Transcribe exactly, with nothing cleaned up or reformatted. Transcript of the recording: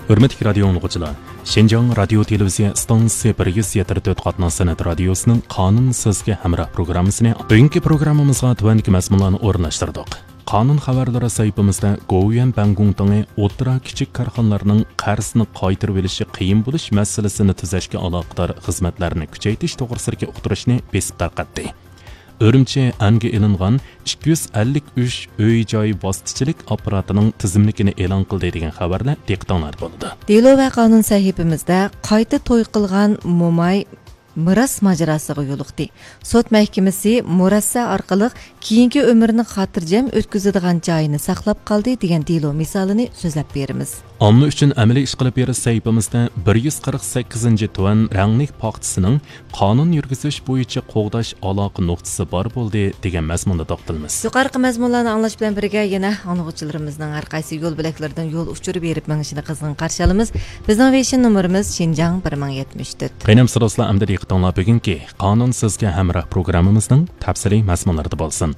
ھۆرمەتلىك رادىيو ئاڭلىغۇچىلار، شىنجاڭ رادىيو تېلېۋىزىيە ئىستانسىسى بىر يۈز يەتتە تۆت قاتناش سەنئەت رادىيوسىنىڭ قانۇن سىزگە ھەمراھ پروگراممىسىنى بۈگۈنكى پروگراممىمىزغا تۆۋەندىكى مەزمۇنلارنى ئورۇنلاشتۇردۇق. قانۇن خەۋەرلىرى سەھىپىمىزدە گوۋۇيۈەن بەنگۇڭتىڭى ئوتتۇرا، كىچىك كارخانىلارنىڭ قەرزنى قايتۇرۇۋېلىشى قىيىن بولۇش مەسىلىسىنى تۈزەشكە ئالاقىدار خىزمەتلەرنى كۈچەيتىش توغرىسىدىكى ئۇقتۇرۇشنى بېسىپ تارقاتتى. ئۈرۈمچى ئەنگە ئېلىنغان ئىككى يۈز ئەللىك ئۈچ ئۆي-جاي ۋاسىتىچىلىك ئاپپاراتىنىڭ تىزىملىكىنى ئېلان قىلدى دېگەن خەۋەرلەر دىققىتىڭلاردا بولىدۇ. دېلو ۋە قانۇن سەھىپىمىزدە قايتا توي قىلغان موماي مىراس ماجىراسىغا يولۇقتى. سوت مەھكىمىسى مۇرەسسە ئارقىلىق كېيىنكى ئۆمرىنى خاتىرجەم ئۆتكۈزىدىغان جايىنى ساقلاپ قالدى دېگەن دېلو مىسالىنى سۆزلەپ بېرىمىز. ئامما ئۈچۈن ئەمەلىي ئىش قىلىپ بېرىش سەھىپىمىزدە بىر يۈز قىرىق سەككىزىنچى تۇەن رەڭلىك پاختىسىنىڭ قانۇن يۈرگۈزۈش بويىچە قوغداش ئالاقە نۇقتىسى بار بولدى دېگەن مەزمۇندا توختىلىمىز. يۇقىرىقى مەزمۇنلارنى ئاڭلاش بىلەن بىرگە، يەنە ئاڭلىغۇچىلىرىمىزنىڭ ھەر قايسى يول بۆلەكلىرىدىن يول ئۇچۇرى بېرىپ مېڭىشىنى قىزغىن قارشى ئالىمىز. بىزنىڭ ۋېيشىن نومۇرىمىز شىنجاڭ بىر مىڭ يەتمىش تۆت. قېنى ئەمىسە دوستلار، ئەمدى دىققىتىڭلار بۈگۈنكى قانۇن سىزگە ھەمراھ پروگراممىمىزنىڭ تەپسىلىي مەزمۇنلىرىدا بولسۇن.